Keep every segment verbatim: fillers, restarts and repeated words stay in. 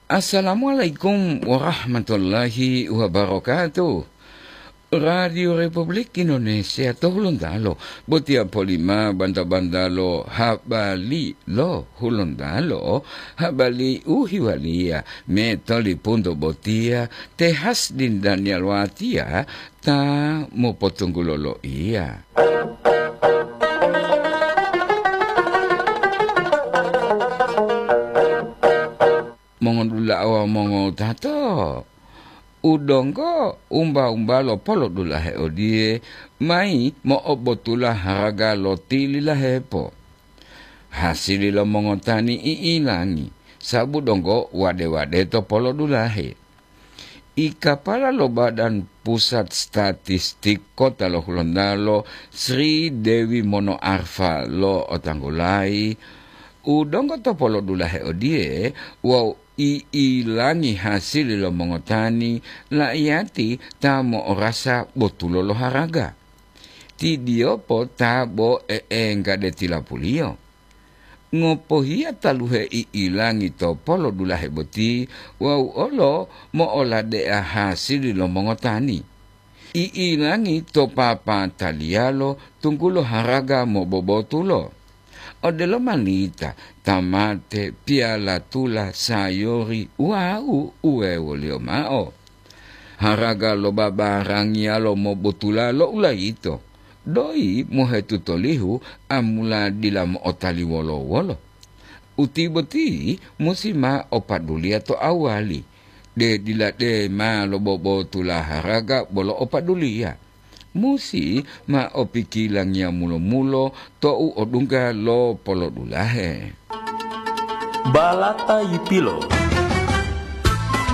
Assalamualaikum warahmatullahi wabarakatuh. Radio Republik Indonesia to Hulontalo, botiya polima banta-bantalo habari lo Hulontalo, habari u hiwaliya me tolipunto botiya te Hasdin Daniel Watiya ta mopotunggulo loiya. Mongodula'a wawu mongowutato, u donggo umba-umba lo polodulahe odiye, mayi mo'obotula haraga lo tililahepo. Hasili lo mongotani i'ilangi, sabu donggo wade-wade to polodulahe. I kapala lo Badan Pusat Statistik Kota lo Hulontalo, Sri Dewi Mono Arfa lo otanggulayi, u donggo to polodulahe odiye wawu i'ilangi hasili lo mongotani, la'iyati ta mo'orasa botulo lo haraga. Ti diyopo ta bo e'engga de tilapuliyo. Ngopohiya taluhe i'ilangi to polodulahe boti wawu olo mo'olade'a hasili lo mongotani. I'ilangi to papataliyalo tunggulo haraga mobobotulo. Odelo malita, tamate, piyalatula, sayori wawu uwewoliyo mao. Haraga lo babarangiyalo mobotula lo ulayito, doyi mohetutolihu amula dila mo'otali wolo-wolo. Uti boti musi ma opaduliya to awali, de dila de ma lobobotula haraga bolo opaduliya. Musi ma opikilangiya mulo-mulo tou odungga lo polodulahe. Balata yipilo.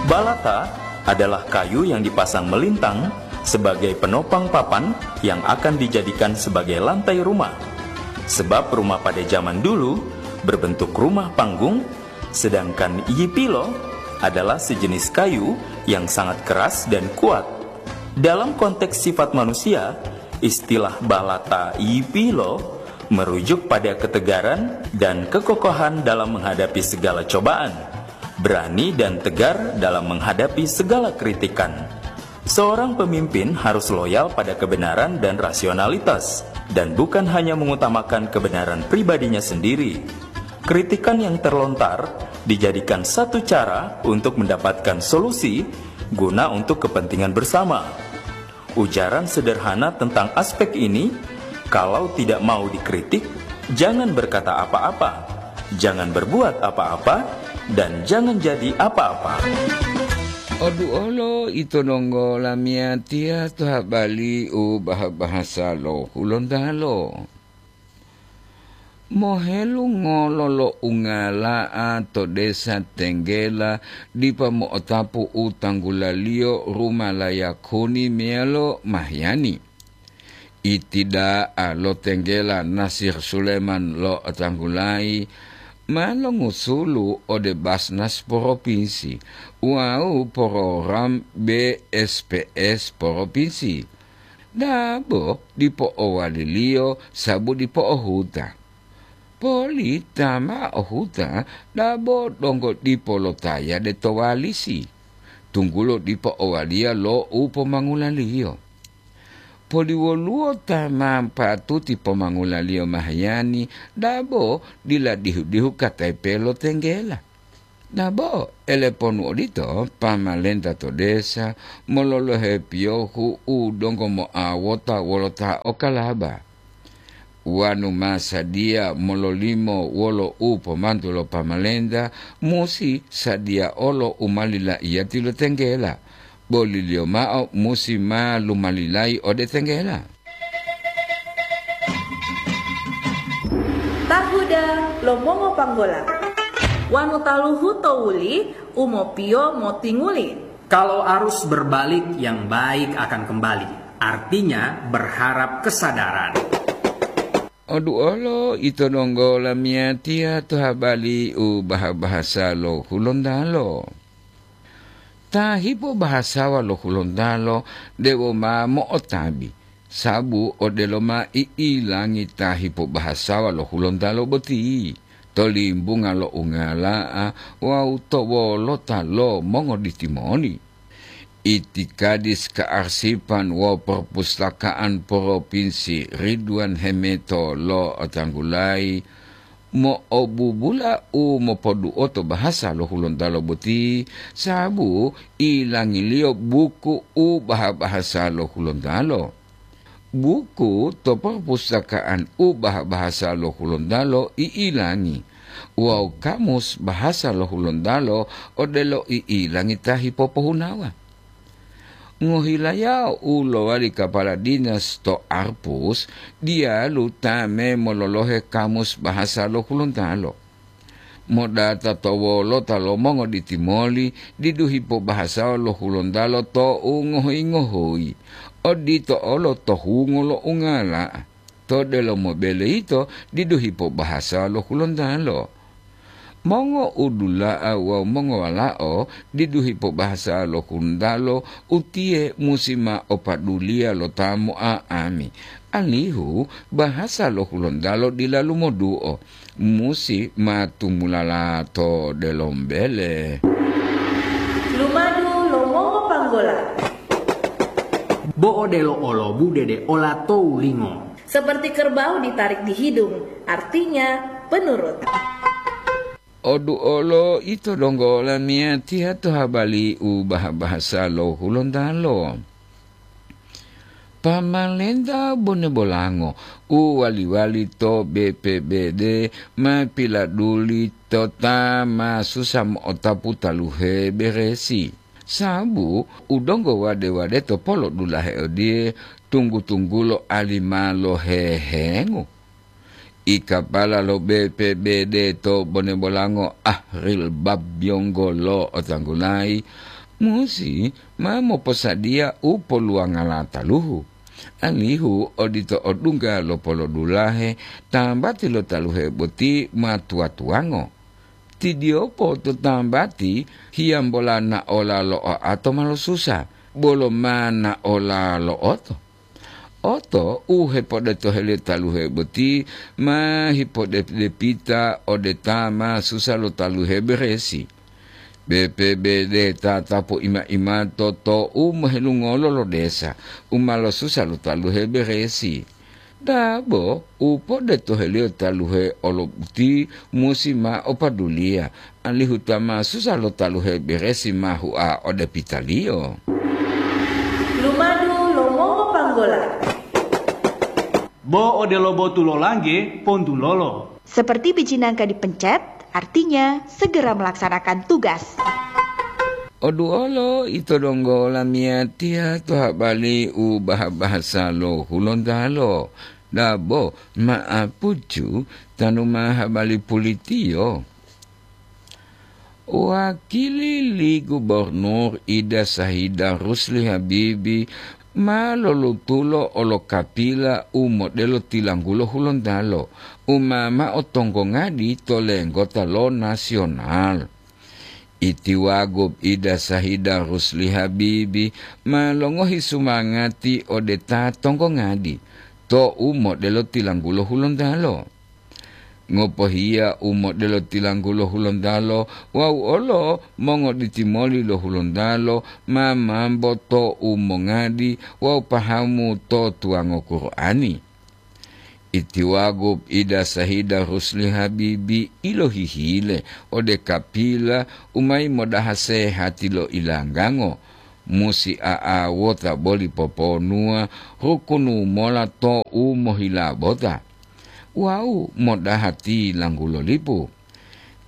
Balata adalah kayu yang dipasang melintang sebagai penopang papan yang akan dijadikan sebagai lantai rumah. Sebab rumah pada zaman dulu berbentuk rumah panggung, sedangkan yipilo adalah sejenis kayu yang sangat keras dan kuat. Dalam konteks sifat manusia, istilah balata yipilo merujuk pada ketegaran dan kekokohan dalam menghadapi segala cobaan, berani dan tegar dalam menghadapi segala kritikan. Seorang pemimpin harus loyal pada kebenaran dan rasionalitas, dan bukan hanya mengutamakan kebenaran pribadinya sendiri. Kritikan yang terlontar dijadikan satu cara untuk mendapatkan solusi guna untuk kepentingan bersama. Ujaran sederhana tentang aspek ini, kalau tidak mau dikritik, jangan berkata apa-apa, jangan berbuat apa-apa, dan jangan jadi apa-apa. Odu olo ito donggo lamiyatiya to habari u bah-bahasa lo Hulontalo. Mohelungolo lo ungala'a to desa Tenggela dipa mo'otapu u tanggulaliyo rumalaya kuni meyalo Mahyani. Itida'a lo Tenggela Nasir Suleman lo tanggulayi ma longusulu ode Basnas Poropinsi wawu program B S P S Poropinsi. Dabo dipo owaliliyo sabu dipo ohuta. Poli ta ma ohuta dabo donggo dipo lotayade to walisi, tunggulo dipo owaliya lo u pomangulaliyo. Poli woluwo ta ma patuti pomangulaliyo Mahyani dabo dila dihu-dihu katayipe lo Tenggela. Nabo, eleponu odito, pamalenta to desa mololohe piyohu u donggo moawota wolo ta okalaba. Wanu ma sadiya mololimo wolo u pomantu lo pamalenta, musi sadiya olo u ma lilaiyati lo Tenggela, boliliyo mao musi ma lumalilayi ode Tenggela. Tahuda lo mongopanggola. Wanu taluhu to wuli u mopiyo motinguli. Kalau arus berbalik, yang baik akan kembali. Artinya, berharap kesadaran. Oduolo ito donggo lamiyatiya to habari u baha-bahasa lo Hulontalo. Ta hipobahasawa lo Hulontalo dewo ma mo'otabi, sabu odelo ma i'ilangi ta hipobahasawa lo Hulontalo boti. to limbunga lo ungala'a wawu to wolota lo mongoditimoni. Itikadis Kearsipan wawu Perpustakaan Propinsi Ridwan Hemeto lo'otanggulayi mo'obubula u mopoduoto bahasa lo Hulontalo boti, sababu ilangiliyo buku u baha-bahasa lo Hulontalo. Buku to perpustakaan u baha-bahasa lo Hulontalo i'ilangi, wawu kamus bahasa lo Hulontalo odelo i'ilangi ta hipopohunawa. Ngohilayao u lowali kapala dinas to Arpus diyalu ta memololohe kamus bahasa lo Hulontalo. Modata to wolota lo mongoditimoli didu hipobahasao lo Hulontalo to u ngohoyi-ngohoyi, odito olo to hungo lo ungala'a. To delomo bele yito didu hipobahasao lo Hulontalo. Mongoudula'a wawu mongowalao didu hipobahasao lo Hulontalo, utiye musi ma opaduliya lo ta mo'a'ami, alihu bahasa lo Hulontalo dila lumoduo, musi ma tumulala to delomo bele. Lumadu lo mongopanggola. Bo odelo olo budede olato wulingo. Seperti kerbau ditarik di hidung, artinya penurut. Oduolo ito donggo lamiyatiya to habali u baha-bahasa lo Hulontalo. Pamalenta bone bolango u wali-wali to B P B D ma piladuli to ta ma susa mo'otapu taluhe beresi. Sabu u donggo wade-wade to polodulahe odiye, tunggu-tunggulo ali ma lohehengu. Ikapala lo B P B D to bone bolango Ahril Babyonggo lo otanggulayi, musi ma moposadiya u poluwangala taluhu, alihu odito odungga lo polodulahe tambati lo taluhe boti ma tuwa-tuwango. Tidiyopo to tambati hiyambola naola lo oato ma losusa, bolo ma naola lo oto. Oto u hepodetoheliyo taluhe boti ma hipodepidepita ode ta ma susa lo taluhe beresi. B P B D tatapu ima-imato to u mohelungolo lo desa u ma losusa lo taluhe beresi. Dabo u podetoheliyo taluhe olo boti musi ma opaduliya, alihu ta ma susa lo taluhe beresi ma hua ode pitaliyo. Lumadu lo mongopanggola. Bo odelo botu lo langge, pontulolo. Seperti biji nangka dipencet, artinya segera melaksanakan tugas. Oduolo ito donggo lamiyatiya to habali u baha-bahasa lo Hulontalo. Dabo ma'apucu tanu ma habali pulitiyo. Wakili li Gubernur Ida Sahida Rusli Habibi ma lolutulo olokapila u modelo tilanggulo Hulontalo, u ma mao tonggongadi to lenggota lo nasional. Itiwagu Ida Sahida Rusli Habibi ma longohi sumangati ode ta tonggongadi to u modelo tilanggulo Hulontalo. Ngopohiya u modelo tilanggulo Hulontalo wawu olo mongoditimoli lo Hulontalo ma mambo to u mongadi wawu pahamu to tuwango Qur'ani. Itiwagu Ida Sahida Rusli Habibi ilohihile ode kapila u mayi modaha sehati lo ilanggango, musi a'awota boli poponuwa rukunu mola to u mohilabota wawu modaha tilanggulo lipu.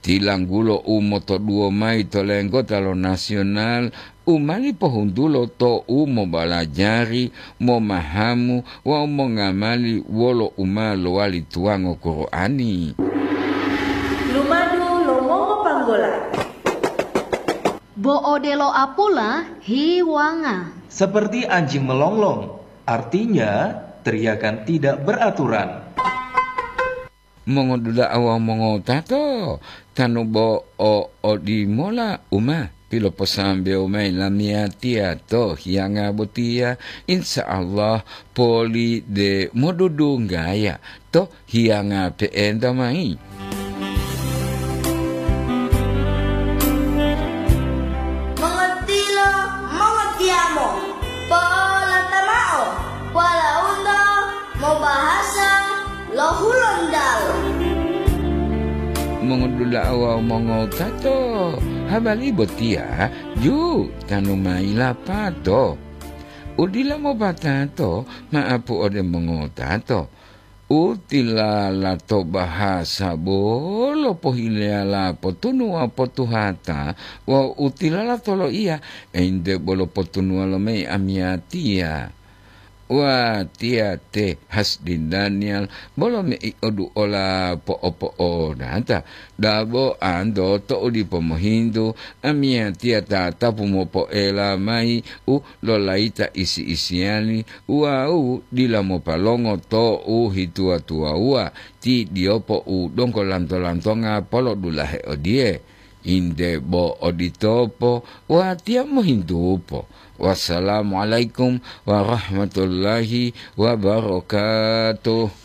Tilanggulo u motoduwo mayi to lenggota lo nasional u mali pohuntulo to u mobalajari, momahamu wawu mongamali wolo u ma lowali tuwango Qur'ani. Lumadu lo mongopanggola. Bo odelo apula hiwanga. Seperti anjing melonglong, artinya teriakan tidak beraturan. Mongodula'a wawu mongotato, tanu bo o odimola u ma piloposambewo mayi lamiyatiya to hiyanga botiya, insya Allah poli de modudunggaya to hiyanga pe'enta mayi. Wawu mongowutato, habari botiya ju tanu mayi lapato. Udila mopatato ma'apu ode mongowutato. Utilala to bahasa bolo pohileyala potunuwa potuhata wawu utilala to loiya, ente bolo potunuwa lo mei amiyatiya. Watiya te Hasdi Daniel bolo mei oduola po'opo'onata, dabo anto to'u dipo mohintu, amiyatiya tatapu mopoela mayi u lolayita isi-isiyali wawu dila mopalongo to'u hituwa-tuwawuwa ti diyopo u donggo lanto-lantonga polodulahe odiye. Inde bo oditopo, watiya mohintupo. Wassalamualaikum warahmatullahi wabarakatuh.